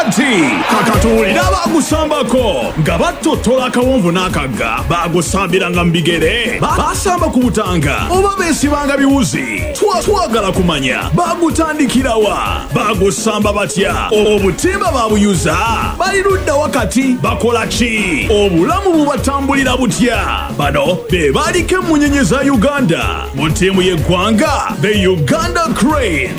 Kakati kakatuwulira abagusambako nga battottola akawonvu n'akagga, bagusambiranga mu bigere, basamba ku butanga oba beesibanga biwuzi. Twagala kumanya bagutandikirawa, bagusamba batya, obutimba babuyuza, bali ludda wakati bakola ki, obulamu bubatambulira butya. Bano be baliko emmunyenye za Uganda mu ttiimu y'eggwanga the Uganda Crane.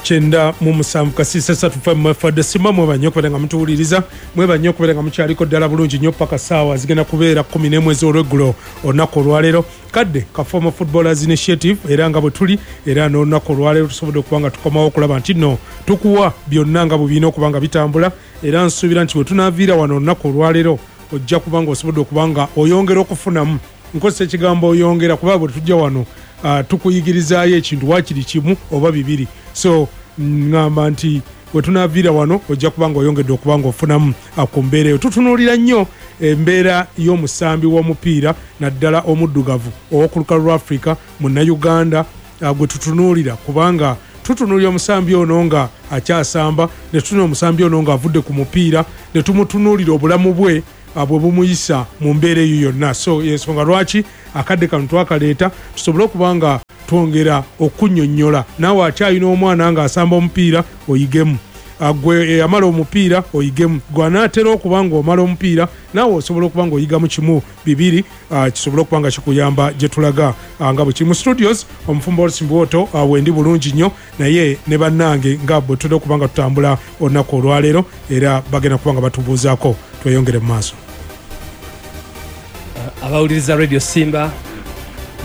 Kyenda mu musanvu kasiisa satu fe mwefadde sima mweba nnyo okubeera nga mutuwuliriza, mweba nnyo okubeera nga mukyaliko ddala bulungi nnyo paka ssaawa zigenda kubeera 11 ez'olweggulo olunaku olwaleero. Kadde ka Former Footballers Initiative, era nga bwe tuli era n'olunaku olwaleero tusobodde okuba nga tukomawo okulaba nti nno tukuwa byonna nga bwe birina okuba nga bitambula, era nsuubira nti bwe tunaaviira wano olunaku olwaleero ojja kuba nga osobodde okuba nga oyongera okufunamu. Nkozesa ekigambo oyongera kuba bwe tujja wano tukuyigirizaayo ekintu waakiri kimu oba bibiri, so ŋŋamba nti bwe tunaaviira wano ojja kuba nga oyongedde okuba nga ofunamu ku mbeera eyo. Tutunuulira nnyo embeera y'omusambi w'omupiira naddala omuddugavu ow'oku lukalu lwa Afrika munnayuganda gwe tutunuulira, kubanga tutunuulira omusambi ono nga akyasamba, ne tutunuulira omusambi ono ng'avudde ku mupiira, ne tumutunuulira obulamu bwe bwe bumuyisa mu mbeera eyo yonna. So ensonga lwaki akadde kano twakaleeta tusobole okuba nga twongera okunnyonnyola naawe akyalina omwana ng'asamba omupiira oyigemu, gwe eyamala omupiira oyigemu, gwe anaatera okuba ng'omala omupiira naawe osobola okuba ng'oyigamu kimu bibiri kisobole okuba nga kikuyamba gye tulaga nga bwe kiri. Mu studios omufumbo Olsi Mbwoto wendi bulungi nnyo, naye ne bannange nga bwe tutera okuba nga tutambula olunaku olwaleero era bagenda kuba nga batubuuzaako. Tweyongere mu maaso. Abawuliriza Radio Simba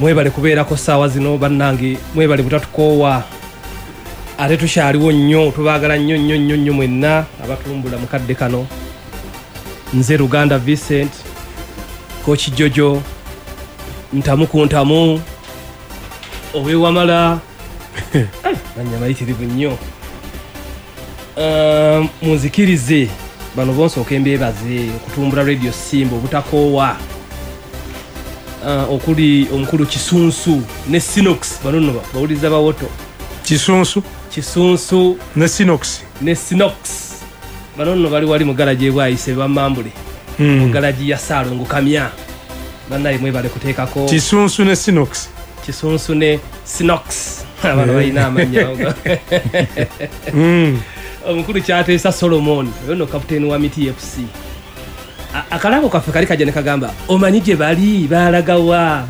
mwebale kubeerako ssaawa zino bannange, mwebale butatukoowa, ate tukyaliwo nnyo, tubaagala nnyo nnyo nnyo nnyo mwenna abatumbula mu kadde kano. Nze Luganda Vincent, Coach Jojo, ntamu ku ntamu, ow'ewamala mannya mayitirivu nnyo. Munzikirize bano bonsooka embeebaze okutumbula Radio Simba obutakoowa, okuli omukulu Kisunsu ne Sinox. Bano nno bawuliriza bawoto. Kisunsu. Kisunsu ne Sinox. Ne Sinox. Bano nno bali wali mu garagi ebwayise bamambule. Mu garagi ya Ssaalongo Kamya. Bannaye mwebale kuteekako. Kisunsu ne Sinox. Kisunsu ne Sinox. Abano balina amannya. Omukulu Kyateesa Solomon, oyo nno kapiteeni wa Miti FC. Akalabo kaffe kali kajja ne kagamba, omanyi gye bali, baalagawa?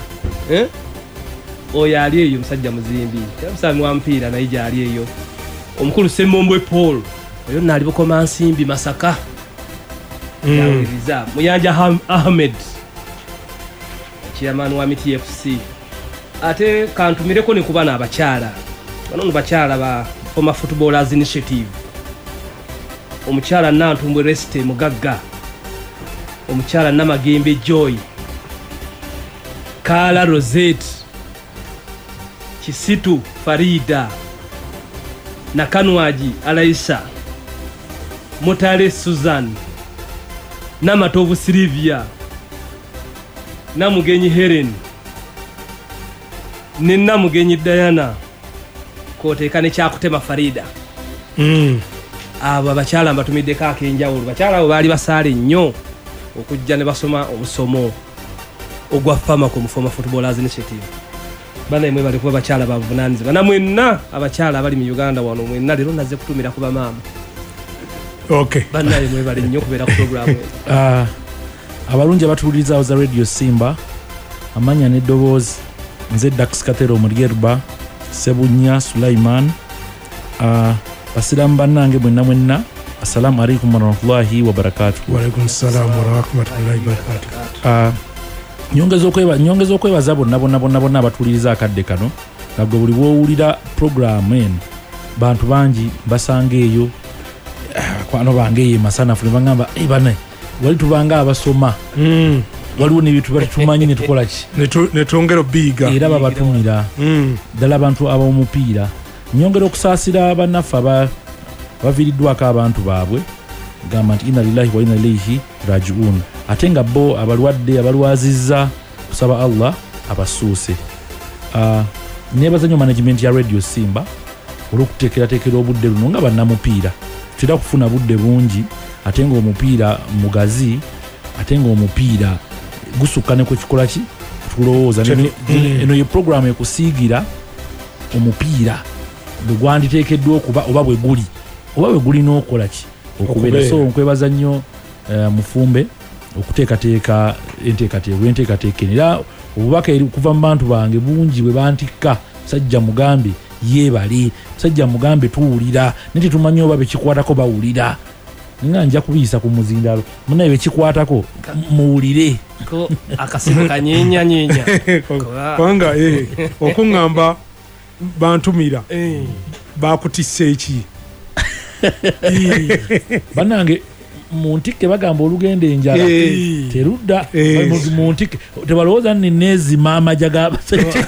Oyo ali eyo musajja muzimbi, musambi wa mupiira naye gy'ali eyo. Omukulu Ssemmombwe Paul, oyo nno ali Bukomansimbi Masaka. Yawuliriza. Muyanja Ahmed, chairman wa Miti FC. Ate kantumireko ne ku bano abakyala. Bano nno bakyala ba Former Footballers Initiative. Omukyala Nantumbwe Reste Mugagga, omukyala Namagembe Joy, Kaala Rosette, Kisitu Farida, Nakanwagi Alaisha, Mutale Susan, Namatovu Sylvia, Namugenyi Helen ne Namugenyi Diana, kwoteeka ne Kyakutema Farida. Abo abakyala mbatumiddeko ak'enjawulo. Bakyala abo baali basaale nnyo okujja ne basoma omusomo ogwa FAMACO mu Former Footballers Initiative. Banaye mwebale kuba bakyala ba buvunaanyizibwa. Na mwenna abakyala abali mu Uganda wano mwenna leero nazze kutumira ku bamaama. Banaye mwebale nnyo okubeera ku program eno. Abalungi abatuwuliriza za Radio Simba, amanya n'eddoboozi nze Dax Katero Mulyerba Sebunya Sulaiman. Basiraamu bannange mwenna mwenna, assalamu alaikum warahmatullahi wabarakatuh. Wa alaikum salam warahmatullahi wabarakatuh. Nyongeza okwebaza bonna bonna bonna bonna abatuwuliriza akadde kano, nga gwe buli bw'owulira programu eno bantu bangi basanga eyo, bakwano bange eyo emasanafu ne bagamba, bane wali tubanga abasoma. Waliwo n'ebintu bali tumanyi ne tukola ki? Ne twongera obiyiga. Era babatumira. Ddala abantu ab'omupiira. Nyongera okusaasira bannaffe abaviiriddwako abantu baabwe, gamba nti inna lillahi wa inna ilaihi rajiun, ate nga bo abalwadde abalwazizza kusaba Allah abasuuse. Nebaza nnyo management ya Radio Simba olw'okuteekerateekera obudde luno nga bannamupiira. Tutera kufuna budde bungi, ate ng'omupiira mugazi, ate ng'omupiira gusukka ne ku kikola ki tulowooza. Eno ye programu ekusiigira omupiira bwe gwanditeekeddwa okuba oba bwe guli oba bwe gulina okukola ki okubeera. So nkwebaza nnyo Mufumbe okuteekateeka enteekateeka eno. Era obubaka okuva mu bantu bange bungi bwe bantikka, musajja mugambe yeebale, musajja mugambe tuwulira, naye tetumanyi oba bekikwatako bawulira. Nga nja kubiyisa ku muzindalo, munnaye bekikwatako muwulire. Akasimu kanyenyanyeenya kubanga okuŋŋamba bantumira bakutisse eki. Bannange mu ntikke bagamba olugenda enjala terudda mu ntikke, tebalowooza nni neezima amagya g'abasajja.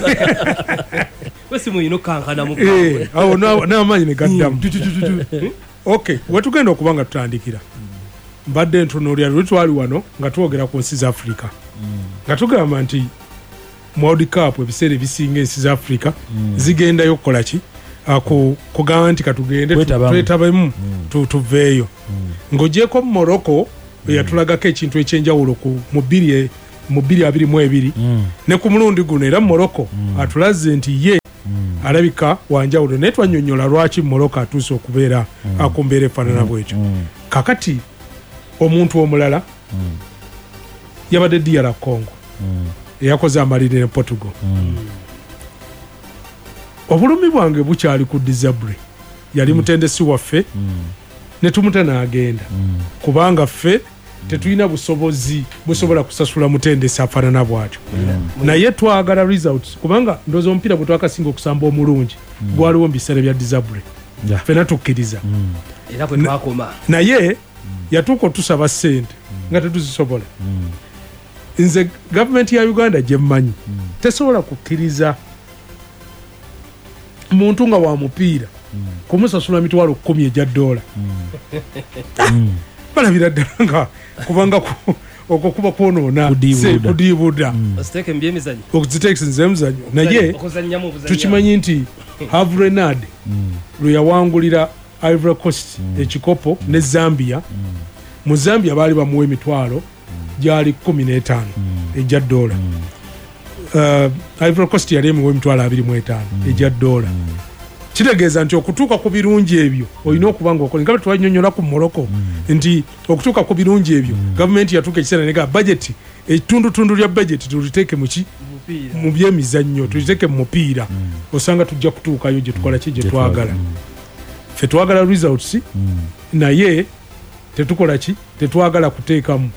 Wesimu kankana mu awo n'amaanyi ne gaddamu. Okay, wetugenda okuba nga tutandikira, mbadde ntunuulira luli twali wano nga twogera ku nsi za Africa, nga tugamba nti mu World Cup ebiseera ebisinga ensi za Africa zigendayo okukola ki, kugamba nti katugende twetabemu tuveeyo. Ng'ogyeko Morocco eyatulagako ekintu ekyenjawulo mu 2022, ne ku mulundi guno era Morocco atulaze nti ye alabika wanjawulo, naye twannyonnyola lwaki Morocco atuuse okubeera ku mbeera efaanana bwetyo. Kakati omuntu omulala yabadde DR Congo eyakoze amaliri ne Portugal. Obulumi bwange bukyali ku Desabre, yali mutendesi waffe ne tumuta n'agenda, kubanga ffe tetulina busobozi busobola kusasula mutendesi afaanana bw'atyo. Naye twagala results, kubanga ndowooza omupiira gwe twakasinga okusamba omulungi gwaliwo mu biseera bya Desabre, ffenna tukkiriza era kwe twakoma. Naye yatuuka otusaba ssente nga tetuzisobola. Nze gavumenti ya Uganda gye mmanyi tesobola kukkiriza muntu nga wa mupiira kumusasula $10,000 egya dola. Balabira ddala nga kubanga okwo kuba kwonoona kudiibuda okuziteekemizannyo. Naye tukimanyi nti Hervé Renard lwe yawangulira Ivory Coast ekikopo ne Zambia, mu Zambia baali bamuwa emitwalo gyali 15 egya dola. Ivory Coast yali emuwa emitwalo 25 egya dola. Kitegeeza nti okutuuka ku birungi ebyo olina okuba ng'okola. Nga bwe twannyonnyola ku Morocco nti okutuuka ku birungi ebyo gavumenti yatuuka ekiseera nega budget, ettundutundu lya budget tuliteeke mu ki, mu byemizannyo, tuliteeke mu mupiira, osanga tujja kutuukayo gye tukola ki gye twagala. Ffe twagala results, naye tetukola ki, tetwagala kuteekamu.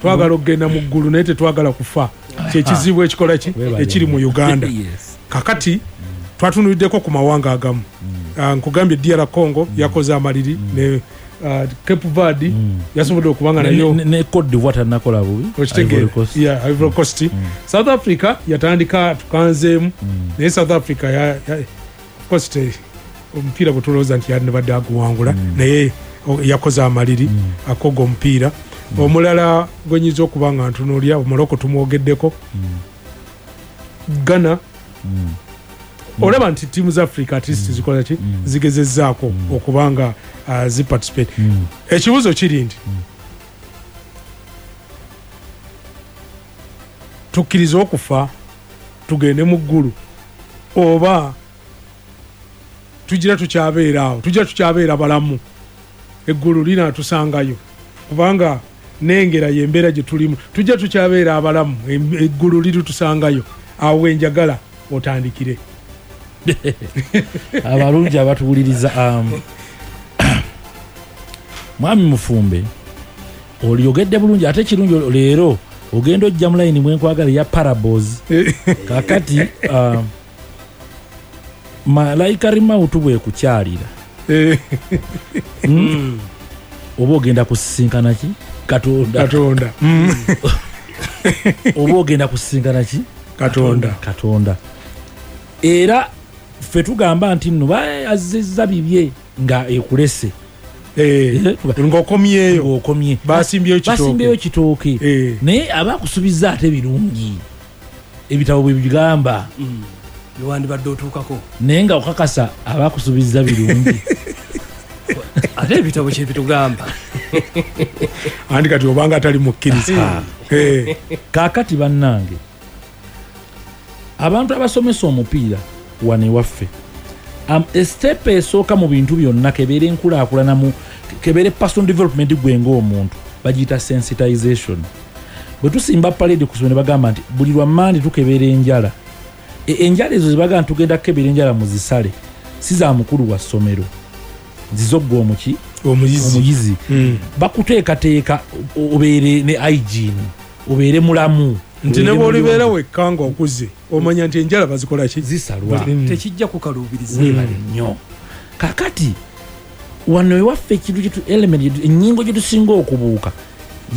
Twagala okugenda mu ggulu naye tetwagala kufa. Kyekizibu ekikola ki ekiri mu Uganda. Kakati twatunuliddeko ku mawanga agamu. Nkugambye DR Congo yakoze amaliri ne Cape Verde yasobodde okubanga nayo ne Cote d'Ivoire tanakola bubi. Ivory Coast. South Africa yatandika tukanzeemu, naye South Africa of course omupiira gwe tulowooza nti yandibadde aguwangula, naye yakoze amaliri akoga omupiira. Omulala gwe nyinza okuba nga ntunuulira Morocco tumwogeddeko, Ghana. Olaba nti ttiimu za Africa at least zikola ki, zigezezzaako okuba nga ziparticipate. Ekibuuzo kiri nti tukkirize okufa tugende mu ggulu, oba tugira tukyabeera awo, tugira tukyabeera balamu, eggulu linaatusangayo? Kubanga nengera y'embeera gye tulimu, tujja tukyabeera abalamu, eggulu liritusangayo. Awo wenjagala otandikire. Abalungi abatuwuliriza, Mwami Mufumbe olyogedde bulungi, ate kirungi leero ogenda ojja mu layini mwenkwagala eya parables. Kakati malayika rimawutu bwekukyalira oba ogenda kusisinkana ki Katonda. Oba ogenda kusisinkana ki Katonda. Era ffe tugamba nti nno azizza bibye nga ekulese ng'okomyeyo, ng'okomye basimbyeyo kitooke, naye aba akusubiza ate birungi. Ebitabo bwe bigamba. Byewandibadde otuukako. Naye nga okakasa abakusuubiza birungi. Ate ebitabo kye bitugamba. Andi kati obanga atali mukkiriza. Kaakati bannange, abantu abasomesa omupiira wano ewaffe, step esooka mu bintu byonna kebeere enkulaakulana mu kebeere personal development gwe ng'omuntu, bagiyita sensitization. Bwe tusimba parade ku ssomero ne bagamba nti buli lwa Mmande tukebeera enjala. Enjala ezo ze bagamba nti tugenda kukebera enjala muzisale, si za mukulu wa ssomero, zizogga omuki? Omuyizi. Bakuteekateeka obeere ne hygiene, obeere mulamu. Nti ne bw'olibeera wekka ng'okuze omanya nti enjala bazikola ki? Zisalwa. Tekijja kukaluubiriza. Weebale nnyo. Kaakati wano ewaffe ekintu kyetu element ennyingo gye tusinga okubuuka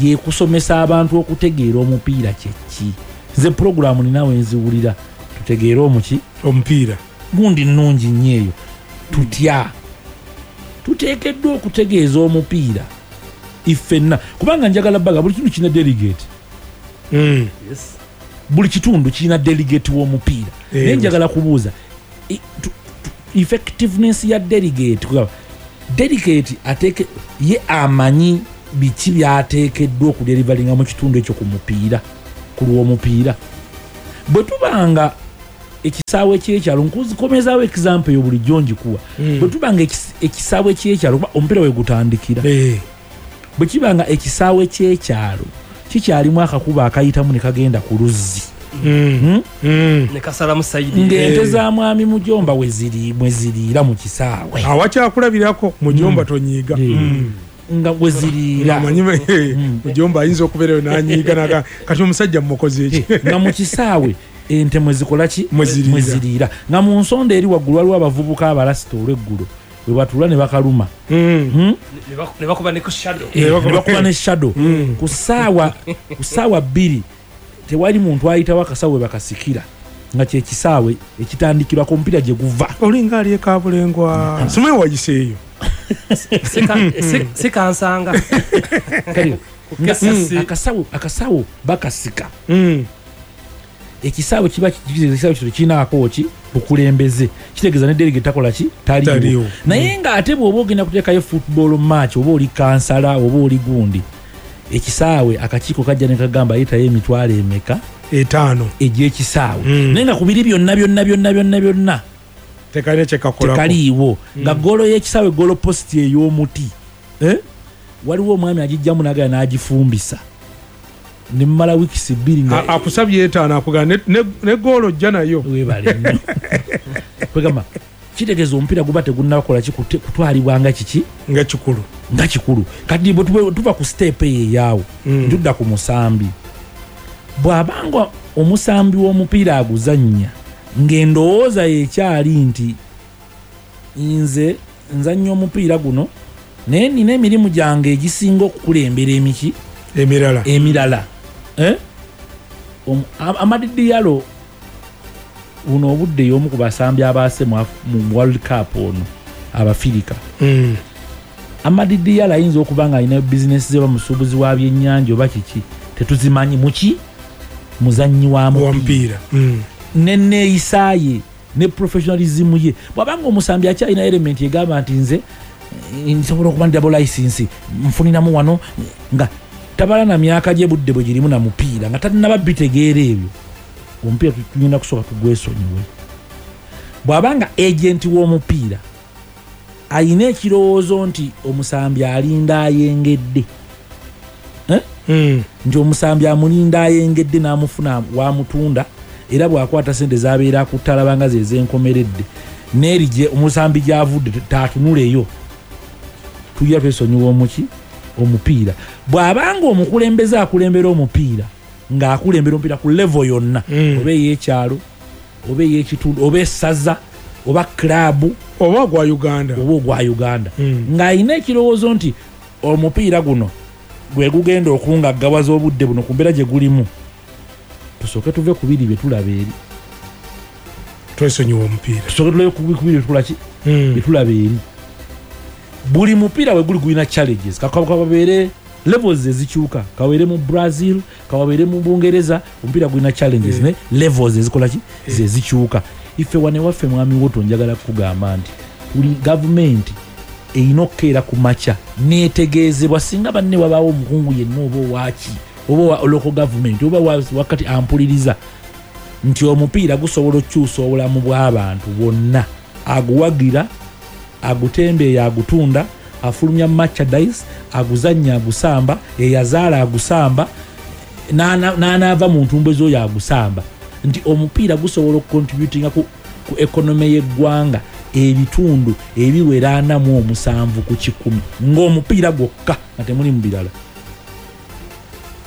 ye kusomesa abantu okutegeera omupiira kye ki. Nze pulogulaamu ninawe nziwulira tutegeere omuki? Omupiira. Gundi nnungi nnyo eyo. Tutya? Tuteekeddwa okutegeeza omupiira iffenna, kubanga njagala baga buli kitundu kirina delegate. Yes. Buli kitundu kirina delegate w'omupiira. Naye njagala kubuuza effectiveness ya delegate, kugamba delegate ateeke ye amanyi biki byateekeddwa okudelivaringa mu kitundu ekyo ku mupiira, ku lw'omupiira. Bwe tubanga ekisaawe ky'ekyalo, nkuzikomezaawo example eyo bulijjo ngikuwa. Bwe tubanga ekisaawe ky'ekyalo, kuba omupiira we gutandikira. Bwe kibanga ekisaawe ky'ekyalo kikyalimu akakubo akayitamu ne kagenda ku luzzi. Ne kasalamu sayidi. Ng'ente za mwami Mujomba we ziri, mwe ziriira mu kisaawe. Awakyakulabirirako Mujomba tonyiiga. Nga we ziriira. Omanyi Mujomba ayinza okubeerayo n'anyiiga n'agamba, kati omusajja mmukoze eki? Nga mu kisaawe ente mwe zikola ki? Mwe ziriira. Nga mu nsonda eri waggulu waliwo abavubuka abalasita olw'eggulo we batuula ne bakaluma. Ne bakuba ne ku shadow. Ne bakuba ne shadow. Ku ssaawa 2 tewali muntu ayitawo akasawo we bakasikira, nga kye kisaawe ekitandikirwako omupiira gye guva. Olinga ali e Kabulengwa. Simanyi wayiseeyo. Sikansanga. Akasawo bakasika. Ekisaawe kiba ekisaawe kino kirinaako ki? Bukulembeze. Kitegeeza ne delegate takola ki? Taliiwo. Naye ng'ate bw'oba ogenda kuteekayo football match, oba oli kansala oba oli gundi, ekisaawe akakiiko kajja ne kagamba ayitayo emitwalo emeka? 5 egy'ekisaawe. Naye nga ku biri byonna byonna byonna byonna byonna tekalina kye kakolako. Tekaliiwo. Nga ggoolo y'ekisaawe ggoolo post ey'omuti. Waliwo omwami agijjamu n'agenda n'agifumbisa. Ne mmala wiikisi 2 nga akusabye 5 akugamba ne ggoolo ojja nayo. Weebale nnyo. Kwegamba kitegeeza omupiira guba tegunnakola ki kutwalibwa nga kiki? Nga kikulu. Nga kikulu. Kati bwe tuva ku step eyo eyaawo, tudda ku musambi. Bw'abanga omusambi w'omupiira aguzannya ng'endowooza ye ekyali nti nze nzannya omupiira guno naye nina emirimu gyange egisinga okukulembera emiki? Emirala. Amad Diallo buno obudde y'omu ku basambi abaase mu World Cup ono Abafirika. Amad Diallo ayinza okuba nga alina bizinesi ze, bamusuubuzi wa byennyanja oba kiki, tetuzimanyi muki muzannyi wa mupiira. Ne neeyisa ye ne professionalism ye. Bw'abanga omusambi akyalina element egamba nti nze nsobola okuba ndi double license nfuniramu wano, nga tabala na myaka gye budde bwe girimu na mupiira, nga tannaba bitegeera ebyo, omupiira tulina kusooka tugwesonyiwe. Bw'abanga agent w'omupiira ayina ekirowoozo nti omusambi alinda ayengedde, nti omusambi amulinda ayengedde n'amufuna wamutunda, era bw'akwata sente z'abeera akutalaba nga ze zenkomeredde, n'eri gye omusambi gy'avudde taatunuleyo, tugira twesonyiwa omuki? Omupiira. Bw'abanga omukulembeze akulembera omupiira ng'akulembera omupiira ku level yonna, oba ey'ekyalo oba ey'ekitundu oba essaza oba club oba ogwa Uganda, oba ogwa Uganda, ng'alina ekirowoozo nti omupiira guno gwe gugenda okungaggawaza obudde buno ku mbeera gye gulimu, tusooke tuve ku biri bye tulaba eri, twesonyiwa omupiira, tusooke tulabe ku biri bye tulaba eri. Buli mupiira we guli gulina challenges, kababeere Levels ezikyuka, kawabeere mu Brazil, kawabeere mu Bungereza, omupiira gulina challenges, ne levels ezikola ki, zezikyuka. Ife wane waffe, mwami woto, njagala kugamba nti tuli gavumenti erina okukeera ku makya netegeezebwa. Singa banne wabaawo omukungu yenna, oba owaki, oba owa local government, oba wakati ampuliriza nti omupiira gusobola okukyusa obulamu bw'abantu bwonna, aguwagira, agutembeeya, agutunda, afulumya merchandise, aguzannya, agusamba, eyazaala agusamba, n'anaava mu ntumbwe z'oyo agusamba, nti omupiira gusobola okucontributinga ku economy y'eggwanga ebitundu ebiwera 47 ng'omupiira gwokka, nga temuli mu birala,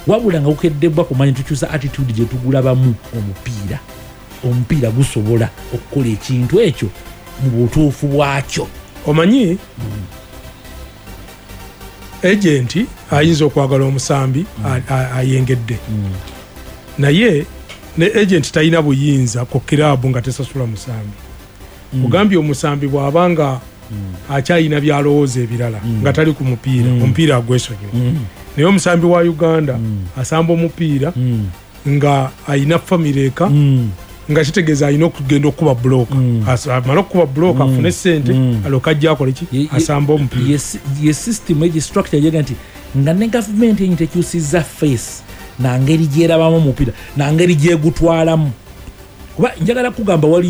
wabula nga gukeddebwa kumanya tukyusa attitude gye tugulabamu omupiira. Omupiira gusobola okukola ekintu ekyo mu butuufu bwakyo. Omanyi, agent ayinza okwagala omusambi ayengedde, naye ne agent talina buyinza ku kiraabu nga tesasula musambi. Ogambye omusambi bw'aba nga akyalina byalowooza ebirala nga tali ku mupiira, omupiira agwesonyiwa. Naye omusambi wa Uganda asamba omupiira nga ayina famire eka, nga kitegeeza alina okugenda okukuba buloka. Amale okukuba buloka, afune sente, alyoke ajja akole ki? Asamba omupiira. Ye system egi structure yega nti nga ne gavumenti enyi tekyusiza face nangeri gyerabamu omupiira, nangeri gyegutwalamu, kuba njagala kugamba waliyo